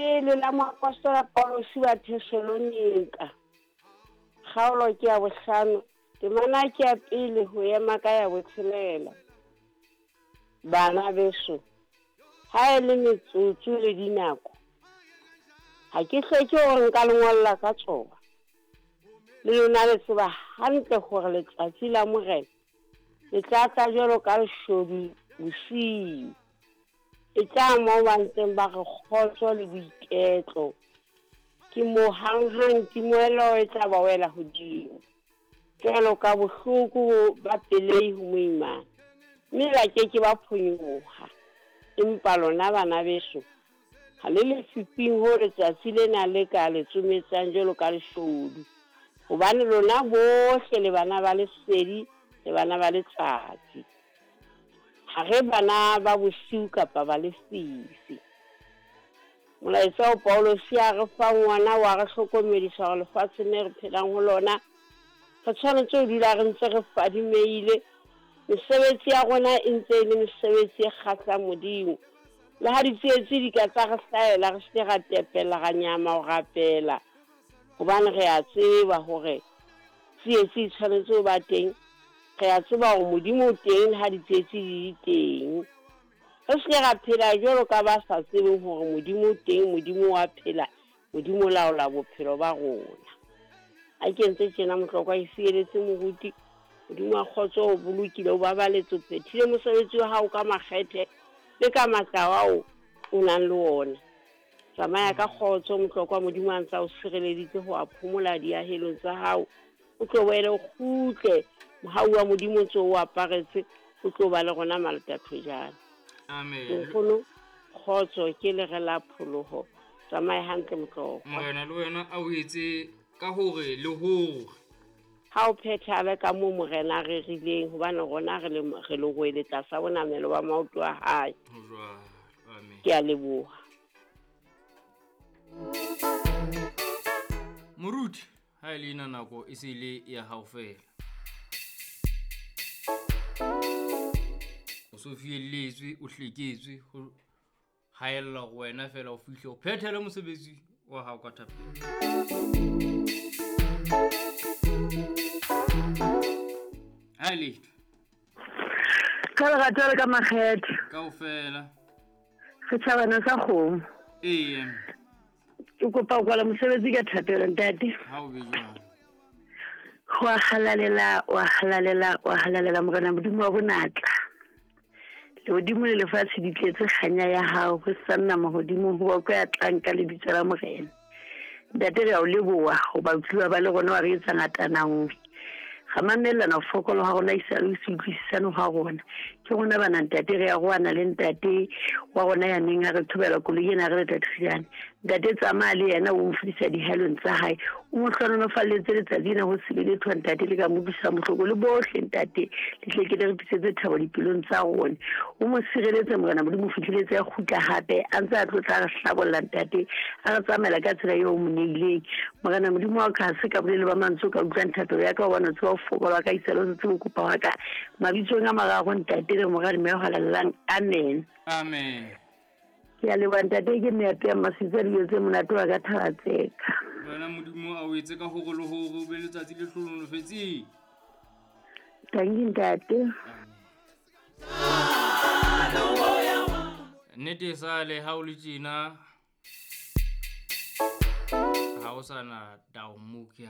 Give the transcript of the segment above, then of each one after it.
Pele la moapostola Paulosi wa Thesalonika, kgaolo ke ya bohlano, temana ke ya pele ho ema ka ya botshelela. Bana beso, ha e le metsotso le dinako, ha ke hloke hore nka le ngolla ka tsona. Le lona le tseba hantle hore letsatsi la Morena le tla tla jwalo ka leshodu bosiu. E tla moo ba ntseng ba re kgotso le boiketlo. Ke moo hanghang timelo e tla ba wela hodimo, jwalo ka bohloko ba pelehi ho moimana, mme ba ke ke ba phonyoha. Empa lona bana beso, ha le lefifing hoo letsatsi lena le ka le tsometsang jwalo ka leshodu, hobane lona bohle le bana ba lesedi le bana ba letsatsi. Ha re bana ba bosiu kapa ba lefifi. Molaetsa o Paulosi a re fang wona wa re hlokomedisa hore lefatsheng le re phelang ho lona re tshwanetse ho dula re ntse re fadimehile. Mesebetsi ya rona e ntse e le mesebetsi e kgahlang Modimo. Le ha ditsietsi di ka tsa re hlahela, re se ke ra tepella, ra nyama ho rapela, hobane re a tseba hore tsietsi e tshwanetse ho ba teng. Re a tseba hore Modimo o teng le ha ditsietsi di le teng. Re se ke ra phela jwalo ka ba sa tsebeng hore Modimo o teng, Modimo wa phela, Modimo o laola bophelo ba rona. Ha ke entse tjena, Motlokwa e fieletse moruti, Modimo wa kgotso o bolokile, o babaletse, o phethile mosebetsi wa hao ka makgethe le ka matla ao o nang le ona. Tsamaya ka kgotso, Motlokwa, Modimo a ntse a o sireleditse ho a phomola diahelong tsa hao. O tlo boele o kgutle, mohau wa Modimo o ntse o aparetse, o tlo ba le rona malatathojana. Amen. Nkgono, kgotso ke lere la pholoho. Tsamaye hantle, Motlokwa. Morena le wena a o etse ka hore le hore. Ha o phethahale ka moo Morena a rerileng, hobane rona re le re lerwele tlasa bonamelo ba maoto a hae. Ho jwalo. Amen. Ke a leboha. Moruti, ha e le ena nako e se le ya hao fela. O so fielletswe, o hleketswe, ho haella hore wena fela o fihle o phethele mosebetsi wa hao ka thapelo. Ha e letho. Ka lerato le ka makgethe. Kaofela. Setjhabana sa kgomo. Ee. Ke kopa ho kwala mosebetsi ka thapelo, ntate. Ha o be jwalo. Wa halalela, wa halalela, wa halalela Morena Modimo wa bonatla. Lehodimo le lefatshe di tletse kganya ya hao, ho sanna mahodimo ho bokwe ya tlang ka lebitso la Morena. Ntate, re a o leboha hoba o tlile wa ba le rona, wa re etsa ngatana nngwe. Ra mamellana ho fokola ha rona, esale ho se utlwisisane ha rona. Ke rona bana ntate, re arohana le ntate wa rona ya neng a re thobela koloi ena re le Tathujane. Ntate, tsamaya le yena, o mo fodisa dihalong tsa hae, o mo hlohonolofalletse letsatsi lena ho se be letho ntate le ka mo utlwisang bohloko, le bohle ntate le tle ke le re tlisetse thabo dipelong tsa rona. O mo sireletse Morena Modimo, o fihleletse a kgutla hape a ntse a tlotla a re hlabolla ntate, a re tsamaela ka tsela eo o mo neileng. Morena Modimo wa ka, ha se ka bolele ba mantswe o ka utlwang thapelo ya ka, hobane o tseba ho fokola ka isale o se tsebe ho kopa wa ka. Mabitsong a mararo ntate le Mora le Moya o Halalelang, amen. Amen. Ke a leboha ntate, ke meato ya masitsa dijo tse monate wa ka Thabatseka. Wena Modimo a o etse ka hore le hore o be letsatsi le hlohonolofetseng. Tanki ntate. Nnete e sale ha o le tjena ha o sa na taomokia.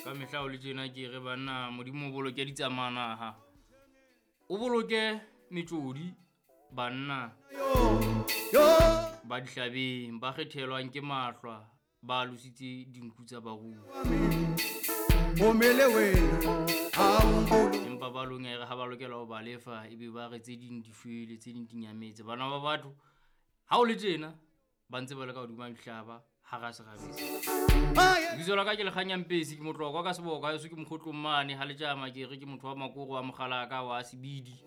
Ka mehla o le tjena ke re banna Modimo o boloke ditsamanaha, o boloke metsodi banna ba dihlabeng ba kgethelwang ke mahlwa ba alositse dinku tsa barui. Empa ba long ere ha ba lokela ho ba lefa ebe ba re tse ding di shwele, tse ding di nyametse. Bana ba batho ha o le tjena ba ntse ba le ka hodima dihlaba hara serabese. Lebitso la ka ke Lekganya Mpesi, ke motlokwa ka seboka, heso ke mokgotlong mane ha letjama, ke re ke motho wa makoro wa mokgalaka wa sebidi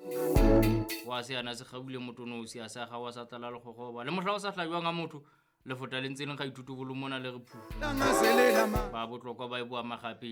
wa seana se kgaule motonosi a sa ga wa sa tlala lekgogoba le mohla o sa hlajwang ha motho lefota le ntse leng ga ithuto bolo mona le re phu ba botlokwa ba e boa magapele.